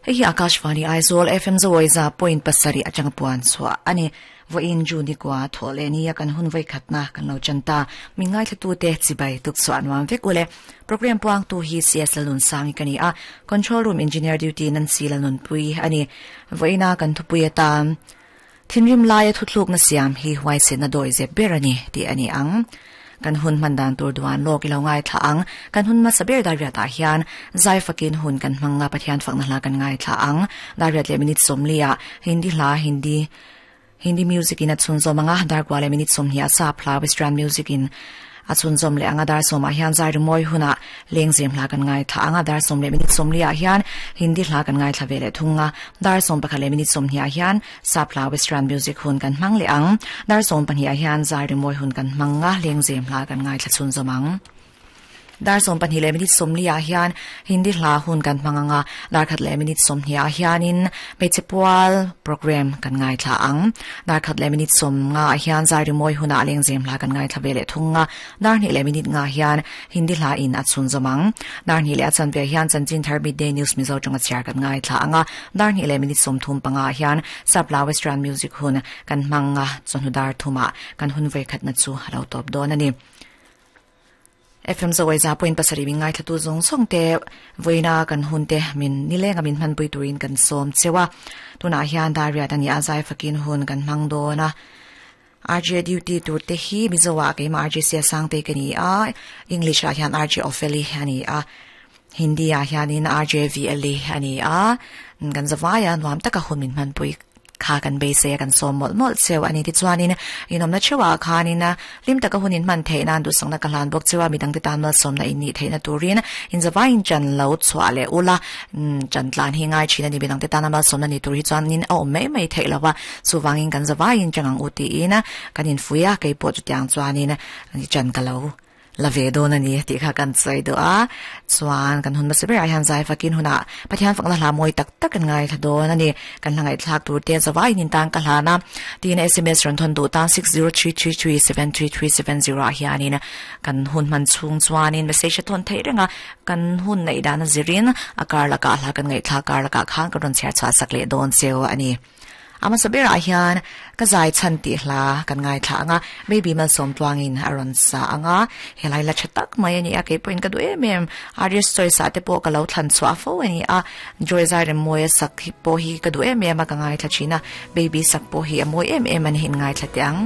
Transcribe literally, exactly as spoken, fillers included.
Hei hi Akashvani Aizawl F M Zawiza point pasarih atanga puan chhuah ani vawiin June kwa thaw leh nia kan hun vai khatna kan lo chanta mi ngai thla tu te chibai tuk chuan nuam vek ule program puang tu hi C S Lalun sangi kani a control room engineer duty nan si Lalun pui ani vawiina kan thupui atan thinrim laia thuthluk na siam hi huai se na doi ze berani ti ani ang kan hun mandan tur duan lok ilo ngai thla ang kan hun ma saber dar riat ah hian zai fakin hun kan hmanga Pathian fakna hla kan ngai thla ang dar riat le minute sawmlia Hindi hla Hindi Hindi music in a chhun zawm anga dar kwa le minute sawmhnih a sap hla western music in a chhun zawm leh anga dar sawmah hian zai rimoi huna lengzem hla kan ngai thla anga dar sawm le minute sawmli ah hian Hindi hla kan ngai thla ve leh thunga dar sawm pakhat le minute sawmhnih ah hian sap hla western music hun kan hmang leh ang dar sawm pahnih ah hian zai rimoi hun kan hmanga lengzem hla kan ngai thla chhun zawm ang dar sawm pahnih le minute sawmli ah hian Hindi hla hun kan hmanganga dar khat le minute sawmhnih ah hianin hmeichhe pual program kan ngai thla ang dar khat le minute sawm nga ah hian zai rimoi huna lengzem hla kan ngai thla ve leh thunga dar hnih le minute nga hian Hindi hla in a chhun zawm ang dar hnih leh a chanve hian chanchin thar midday news Mizo tawng a chhiar kan ngai thla anga dar hnih le minute sawm thum panga hian sapla western music hun kan hmanga chawhnu dar thuma kan hun ve khat na chu lo tawp dawn ani F M Zawiza point pasarih mi ngai thla tu zawng zawng te vawiina kan hun te min nilenga min hmanpui turin kan sawm chewa tunah hian dar riat ani a zai fakin hun kan hmang dawn a R J duty tur te hi Mizoah keimah R J Sia Sangte ka ni a English ah hian R J Opheli ani a Hindi ah hianin R J V L E ani a kan zawai a nuam taka hun min hmanpui kha kan beisei a kan sawm mawlh mawlh cheu ani ti chuanin inomna chewa khanin lim taka hunin hman theih nan duhsakna ka hlan bawk chewa midang te tan mal sawmna in nih theihna turin in zawaiin chan lo chhuah leh ula chan tlan hi ngai thin ani midang te tan mal sawmna ni tur hi chuanin a awm mai mai theih lova chuwangin kan zawaiin changang u tiin kan in fuia keipawh chu tiang chuanin chan ka lo la ve dawn ani tih kha kan chai do a chuan kan hun ma saber ah hian zai fakin huna Pathian fakna hla mawi tak tak kan ngai thla dawn ani kan hla ngai thlak tur te zawai nin tang ka hlana tin S M S ran thon du tan six zero three three three seven three three seven zero ah hianin kan hun man chung chuanin message thon thei renga kan hun nei dan zirin akar laka hla kan ngai thla kar laka khan kan ron chher chha sak le dawn cheu ani ama saber ah hian ka zai chan ti hla kan ngai thla anga maybe man som tluangin aron sa anga helai la chatak mai ani a ke point ka du em em arias choi sa te po ka lo thlan chwa fo ani a joy zai rem moi sak hi po hi ka du em em a ka ngai thla china baby sak po hi a moi em em ani hin ngai thla tiang.